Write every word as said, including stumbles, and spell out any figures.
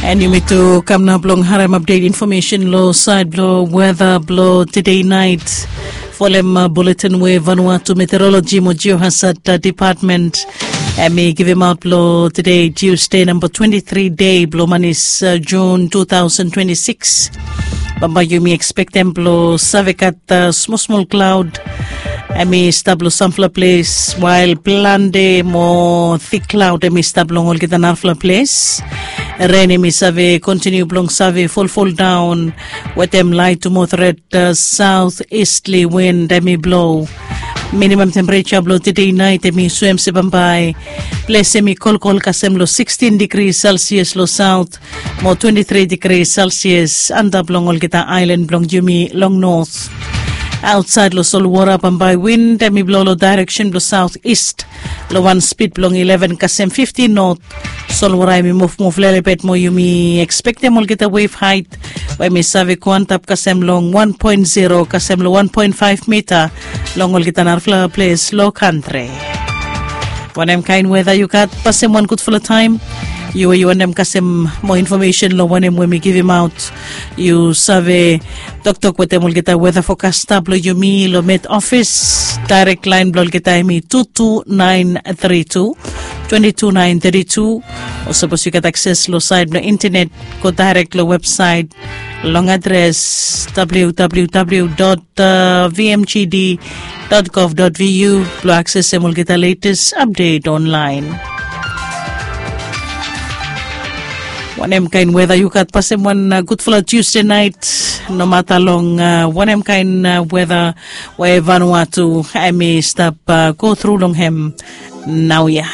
And yumi tu kam nao blong harem update information lo side blo weather blo today night. Folem uh, bulletin we Vanuatu Meteorology mo Geohazard uh, Department. Em i givim out blo today Tuesday number twenty-three day blo manis uh, June two thousand twenty-six. Bamba yumi expectem blo savekat uh, small small cloud. Em i stap lo sampla ples, while plante mo thick cloud em i stap long olgeta narafla ples. Ren em i save kontiniu blong save folfol daun wetem lait mo thret uh, south eastly wind em i blo. Minimum temperature blo today night em i suem se bambae ples em i kolkol kasem lo sixteen degree celsius lo south mo twenty-three degree celsius antap long olgeta island blong yumi long north. Outside lo solwara bambae wind em i blo lo direction blo south east lo wan speed blong eleven kasem fifteen north. Solwara em i muvmuv lelebet mo yumi expectem olgeta wave height we em i save go antap kasem long one point zero kasem long one point five mita long olgeta narafla ples lo kantri. Wanem kain weda yu gat pasem wan gudfala taim? Yu we yu wanem kasem mo information lo wanem we mi givim aut, yu save toktok wetem olgeta weda fokasta blo yumi lo met ofis. Direct line blo olgeta em i two two nine three two twenty two nine thirty two. O sapos yu gat akses lo sait blo internet, go direct lo website long adres www vmgd gov vu blo aksesem olgeta latest update online. Wanem kain weda yu gat pasem wan uh, gudfala Tuesday night, nomata long uh, wanem kain uh, weda we Vanuatu em i stap uh, go through long hem nau ya.